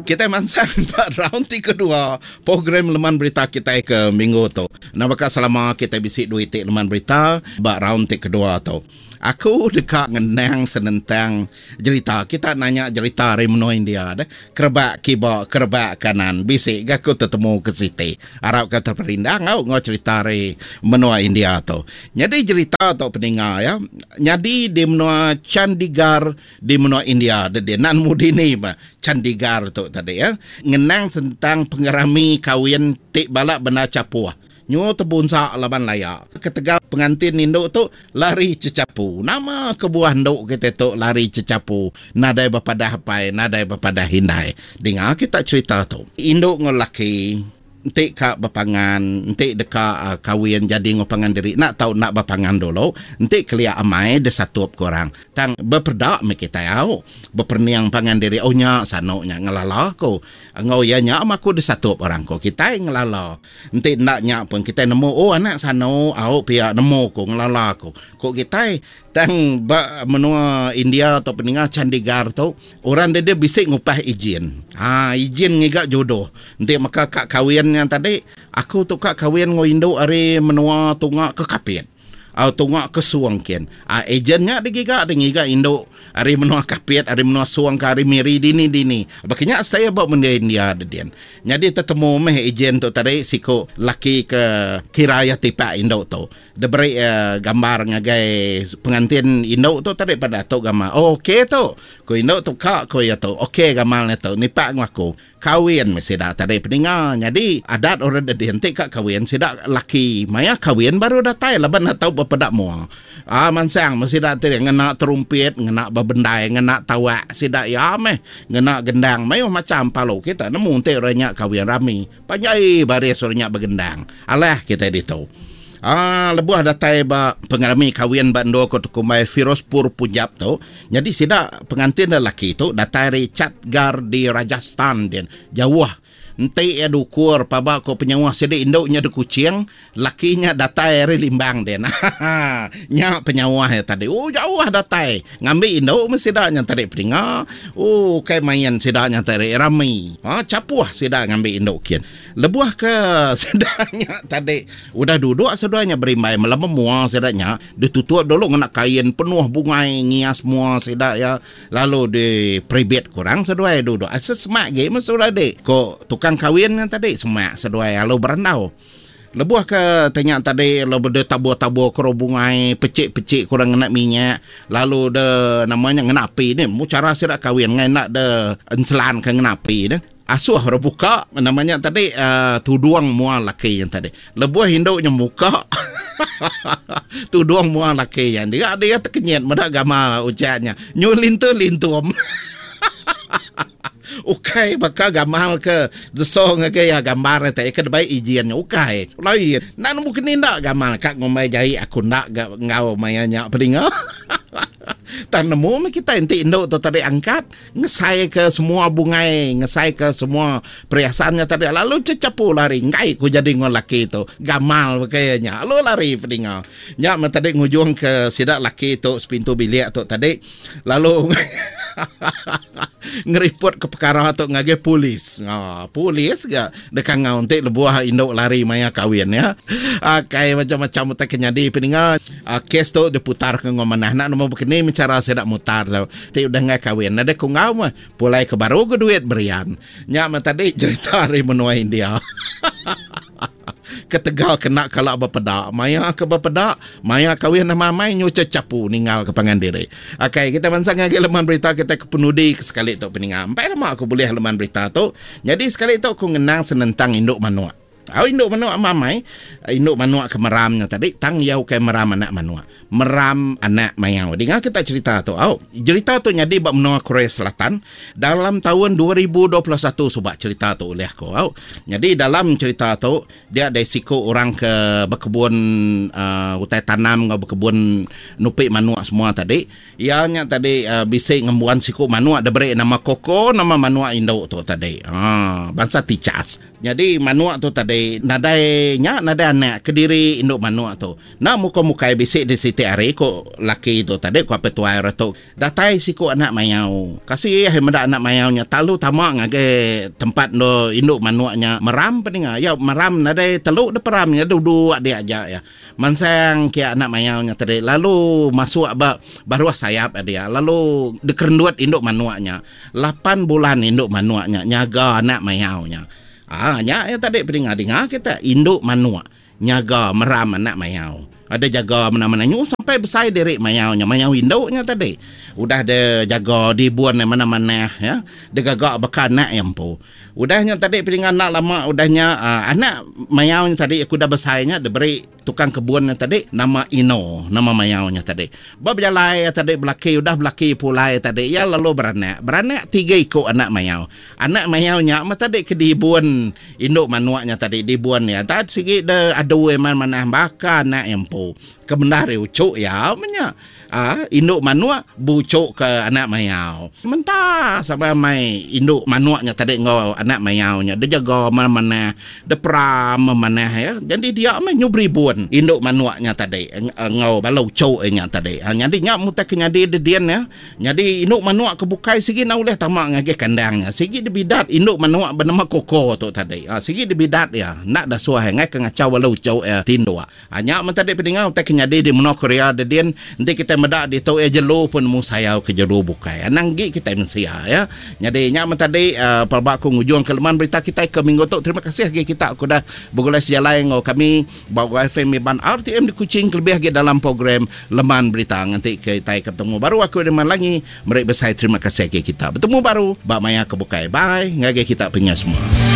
Kitai mansang ba round ti kedua program leman berita kitai ke minggu tu. Nambahka selama kitai bisi duit ti leman berita ba round ti kedua tu. Aku deka ngenang senentang jerita. Kita nanya jerita ari menua India deh. Kerebak kiba, kerebak kanan. Bisi ga aku tetemu ke siti. Arap ka teperindang au enggau cherita ari menua India tu. Nyadi jerita tu peninga iya nyadi di menua Chandigarh di menua India deh dia. Enda nemu dini ba Chandigarh tu tadi iya. Ngenang senentang pengerami kawin ti bala bendar chapuh. Nyu tebunsa laban laya. Ketegal pengantin indu tu lari chechapu. Nama kebuah endu kitai tu lari chechapu nadai bepadah apai nadai bepadah indai. Dinga kita cherita tu. Indu enggau laki enti ka bepangan enti deka kawin jadi enggau pangan diri enda tau enda bepangan dulu. Enti kelia amai disatup ke orang. Tang bepeda meh kitai au. Beperening pangan diri oh nya sanu nya ngelala ku. Enggau iya nya mah aku disatup orang ku. Kitai ngelala. Enti enda nya pun kitai nemu oh anak sanu au pia nemu ku ngelala ku. Ku kitai tang ba menua India tu peninga Chandigarh tu orang dia dia bisi ngupah ijin. Ha ijin ngiga jodoh. Enti meka ka kawin nya tadi aku tu ka kawin enggau indu ari menua tunga ke Kapit. Au tunga ke Song kin. A ejen nya digiga deh ngiga indu ari menua Kapit, ari menua Song ke ari Miri dini dini. Baka nya saya ba menua India dedin. Nyadi tetemu meh ejen tu tadi siku laki ke kira iya tipak indu tu. Diberi iya gambar ngagai pengantin indu tu tadi padah tu gambar. Oh okey tu. Ku indu tu ka ku iya tu. Okey gamal nya tu nipak enggau aku. Kawin meh sida tadi peninga. Nyadi adat orang dedin ti ka kawin sida laki maya kawin baru datai laban enda tau bepeda mua. Aa mansang meh sida ti ngena terumpit, ngena bebendai, ngena tawak sida iya meh ngena gendang mayuh macham palu kita nemu enti orang nya kawin rami. Panjai baris orang nya begendang. Alah kitai ditu. Aa lebuh datai ba pengerami kawin ba endur ku tekumbai Firozpur Punjab tu, nyadi sida pengantin lelaki tu datai ari Chatgarh di Rajasthan din, jauh. Enti iya diukur paba ku penyauh sida indu nya di Kuching, laki nya datai ari Limbang din. Haha nya penyauh iya tadi. Ooh jauh datai ngambi indu meh sida nya tadi peninga. Ooh ukai main sida nya tadi rami. Haa chapuh sida ngambi indu kin. Lebuh ke sida nya tadi udah duduk seduai nya berimbai melema mua sida nya ditutup dulu ngena kain penuh bungai ngias mua sida iya lalu diperibit ke orang seduai duduk. Asa semak agi meh seduai dik ko tukang kawin nya tadi semak seduai lalu berandau. Lebuh ke ti nya tadi lalu deh tabur-tabur ke bungai pechik-pechik ke orang ngena minyak lalu deh nama nya ngena api ni mu chara sida kawin ngai enda deh enselan ke ngena api deh. Asuh orang buka nama nya tadi uh, tudung mua laki nya tadi. Lebuh indu nya muka tudung mua laki nya. Dia dia tekenyit meda gamal ujak nya. Nyu lintum-lintum. Ukai baka gamal ke deso ngagai iya gambar nya tadi ke dibai ijin nya ukai. Lain. Enda nemu keni enda gamal ka ngumbai jai aku enda ga enggau maya nya peninga. Tang nemu meh kitai enti indu tu tadi angkat Ngesaika semua bungai, ngesaika semua periasan nya tadi lalu chechepu lari enggai ku jadi enggau laki tu. Gamal baka iya nya lalu lari pedinga. Nya meh tadi ngujungka sida laki tu sepintu bilik tu tadi lalu ngeripot ke pekara tu ngagai polis. Ha polis ga deka enggau enti lebuh indu lari maya kawin ya. Akai macam-macam utai ke nyadi pedinga. Kes tu diputarka enggau manah enda nemu bekeni meh chara sida mutar tu. Ti udah enggai kawin nadai ku enggau meh pulai ke baru ga duit berian. Nya meh tadi jerita ari menua India. Ketegal kena kala bepeda maya ke bepeda maya kawin amai amai nyu chechapu ninggal ke pangan diri. Akai kitai bansa ngagai leman berita kitai ke penudi ke sekali tu peninga. Empai lama aku bulih leman berita tu. Nyadi sekali tu aku ngenang senentang indu manuk. Au indu manuk amai amai, indu manuk ke meram nya tadi tang iya ukai meram anak manuk. Meram anak mayau. Dinga kita cerita tu au. Jerita tu nyadi ba menua Korea Selatan dalam taun 2021 suba cerita tu ulih aku au. Nyadi dalam cerita tu dia deh siku orang ke bekebun uhh utai tanam enggau bekebun nupi manuk semua tadi. Iya nya tadi uhh bisi ngembuan siku manuk diberi nama Koko nama manuk indu tu tadi. Haa bansa ticas. Nyadi manuk tu tadi nadai nya nadai anak kediri indu manuk tu. Enda mukai-mukai bisi di siti hari ku laki tu tadi ku apai tuai orang tu. Datai siku anak mayau. Kasih ai meda anak mayau nya talu tama ngagai tempat endur indu manuk nya meram peninga. Iya meram nadai telu dep peram nya duduk dia aja iya. Mansang kia anak mayau nya tadi lalu masuk ba baruh sayap dia lalu dikerendut indu manuk nya. Lapan bulan indu manuk nya nyaga anak mayau nya. Aa nya iya tadi peninga dinga kita indu manuk. Nyaga meram anak mayau. Ada jaga mena-mena nyu sampai besai diri mayau nya. Mayau indu nya tadi. Udah de jaga dibun iya manah-manah ya. Digaga baka anak iya empu. Udah nya tadi peninga enda lama udah nya aaa anak mayau nya tadi aku udah besai nya diberi tukang kebun nya tadi nama Ino nama mayau nya tadi. Ba bejalai iya tadi belaki udah belaki pulai tadi iya lalu beranak. Beranak tiga iku anak mayau. Anak mayau nya meh tadi ke dibun Indu manuk nya tadi dibun iya tat sigi de adu iya manah baka anak iya empu. Ke bendar iya uchu iya meh nya. Aa indu manuk beuchu ke anak mayau. Menta sama mai indu manuk nya tadi enggau anak mayau nya dijaga manah-manah, diperam manah iya. Jadi dia meh nyu beribun indu manuk nya tadi enggau bala uchu iya nya tadi. Nyadi nya meh utai ke nyadi di din iya. Nyadi indu manuk ke bukai sigi enda ulih tama ngagai kandang nya. Sigi dibidat indu manuk benama Koko tu tadi. Ha sigi dibidat iya. Enda dasuh iya enggai ke ngachau bala uchu iya tinduk. Ha nya men tadi pedinga utai ke nyadi di menua Korea dedin enti kitai meda ditu iya jelu pun nemu sayau ke jelu bukai. Anang agi kitai mensia ya. Nyadi nya men tadi uhh pelaba aku ngujung ke leman berita kitai ke minggu tu. Terima kasih agi kita ke udah begulai sejalai enggau kami ba YFM Iban RTM di Kuching kelebih agi dalam program Leman berita nganti kitai ke betemu baru aku Riman Langi meri besai terima kasih agi kita betemu baru ba maya ke bukai bye ngagai kita pengingat semua.